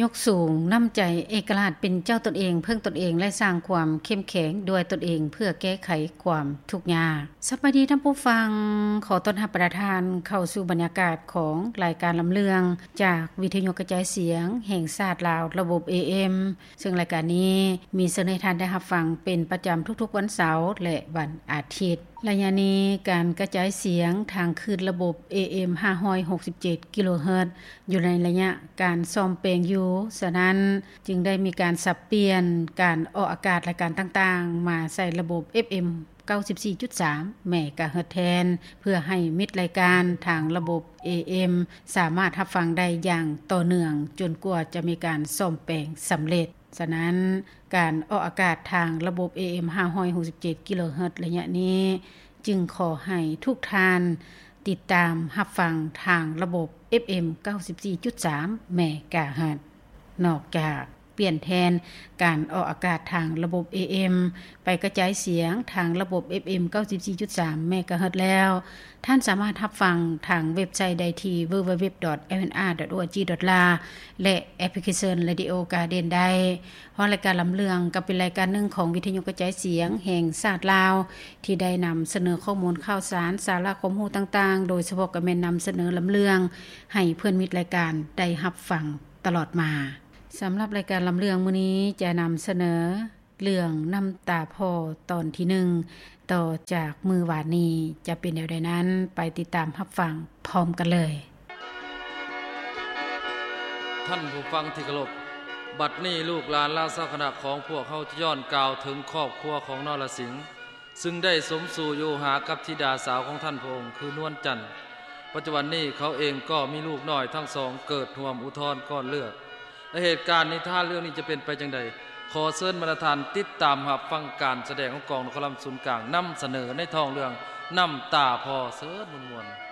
ຍົກສູງນ້ຳໃຈເອກະລາດເປັນເຈົ້າຕົນເອງ, ເພິ່ງຕົນເອງ ແລະ ສ້າງຄວາມເຂັ້ມແຂງດ້ວຍຕົນເອງ ເພື່ອແກ້ໄຂຄວາມທຸກຍາກ. ສະບາຍດີທ່ານຜູ້ຟັງ, ຂໍຕ້ອນຮັບບັນດາທ່ານເຂົ້າສູ່ບັນຍາກາດຂອງລາຍການລຳເລື່ອງ ຈາກວິທະຍຸກະຈາຍສຽງແຫ່ງຊາດລາວ ລະບົບ ເອເອັມ ເຊິ່ງລາຍການນີ້ມີສະເໜີໃຫ້ທ່ານໄດ້ຮັບຟັງເປັນປະຈຳທຸກໆວັນເສົາ ແລະ ວັນອາທິດ. ໄລຍະນີ້ການກະຈາຍສຽງທາງຄື້ນລະບົບ ເອເອັມ ຫ້າຮ້ອຍຫົກສິບເຈັດກິໂລເຮີດ ຢູ່ໃນໄລຍະການສ້ອມແປງຢູ່, ສະນັ້ນຈຶ່ງໄດ້ມີການສັບປ່ຽນການອອກອາກາດລາຍການຕ່າງໆ ມາໃສ່ລະບົບ ເອັຟເອັມ ເກົ້າສິບສີ່ຈຸດສາມເມກາເຮີດແທນ ເພື່ອໃຫ້ມິດລາຍການທາງລະບົບ ເອເອັມ ສາມາດຮັບຟັງໄດ້ຢ່າງຕໍ່ເນື່ອງ ຈົນກວ່າຈະມີການສ້ອມແປງສຳເລັດ. ສະນັ້ນ, ການອອກອາກາດທາງລະບົບ ເອເອັມ ຫ້າຮ້ອຍຫົກສິບເຈັດກິໂລເຮີດ ໄລຍະນີ້ ຈຶ່ງຂໍໃຫ້ທຸກທ່ານຕິດຕາມຮັບຟັງທາງລະບົບ ເອັຟເອັມ ເກົ້າສິບສີ່ຈຸດສາມເມກາເຮີດ. ນອກຈາກປ່ຽນແທນການອອກອາກາດທາງລະບົບ ເອເອັມ ໄປກະຈາຍສຽງທາງລະບົບ ເອັຟເອັມ ເກົ້າສິບສີ່ຈຸດສາມເມກາເຮີດແລ້ວ, ທ່ານສາມາດຮັບຟັງທາງເວັບໄຊໄດ້ທີ່ www.lnr.org.la ແລະ ແອັບພລິເຄຊັນ Radio Garden ໄດ້. ເພາະລາຍການລຳເລື່ອງກໍເປັນລາຍການໜຶ່ງຂອງວິທະຍຸກະຈາຍສຽງແຫ່ງຊາດລາວ ທີ່ໄດ້ນຳສະເໜີຂໍ້ມູນຂ່າວສານ, ສາລະຄວາມຮູ້ຕ່າງໆ, ໂດຍສະເພາະກໍແມ່ນນຳສະເໜີລຳເລື່ອງໃຫ້ເພື່ອນມິດລາຍການໄດ້ຮັບຟັງຕະຫຼອດມາ. ສຳລັບລາຍການລຳເລື່ອງມື້ນີ້ຈະນຳສະເໜີ ເລື່ອງນ້ຳຕາພໍ່ຕອນທີໜຶ່ງ ຕໍ່ຈາກມື້ວານນີ້ ຈະເປັນແນວໃດນັ້ນ ໄປຕິດຕາມຮັບຟັງພ້ອມກັນເລີຍ. ທ່ານຜູ້ຟັງທີ່ເຄົາລົບ, ບັດນີ້ລູກຫຼານລາຊະຄະນະຂອງພວກເຮົາຈະຍ້ອນກ່າວເຖິງຄອບຄົວຂອງນໍລະສິງ ຊຶ່ງໄດ້ສົມສູ່ຢູ່ຫາກັບທິດາສາວຂອງທ່ານພະອົງ ຄືນວນຈັນ. ປັດຈຸບັນນີ້ເຂົາເອງກໍມີລູກນ້ອຍທັງສອງເກີດຮ່ວມອຸທອນກ້ອນເລືອດ. ແລະ ເຫດການນິທານເລື່ອງນີ້ຈະເປັນໄປຈັ່ງໃດ, ຂໍເຊີນບັນດາທ່ານຕິດຕາມຮັບຟັງການສະແດງຂອງກອງນະຄອນລຳສູນກາງ ນຳສະເໜີໃນທ້ອງເລື່ອງນ້ຳຕາພໍ່. ເຊີນມ່ວນໆ.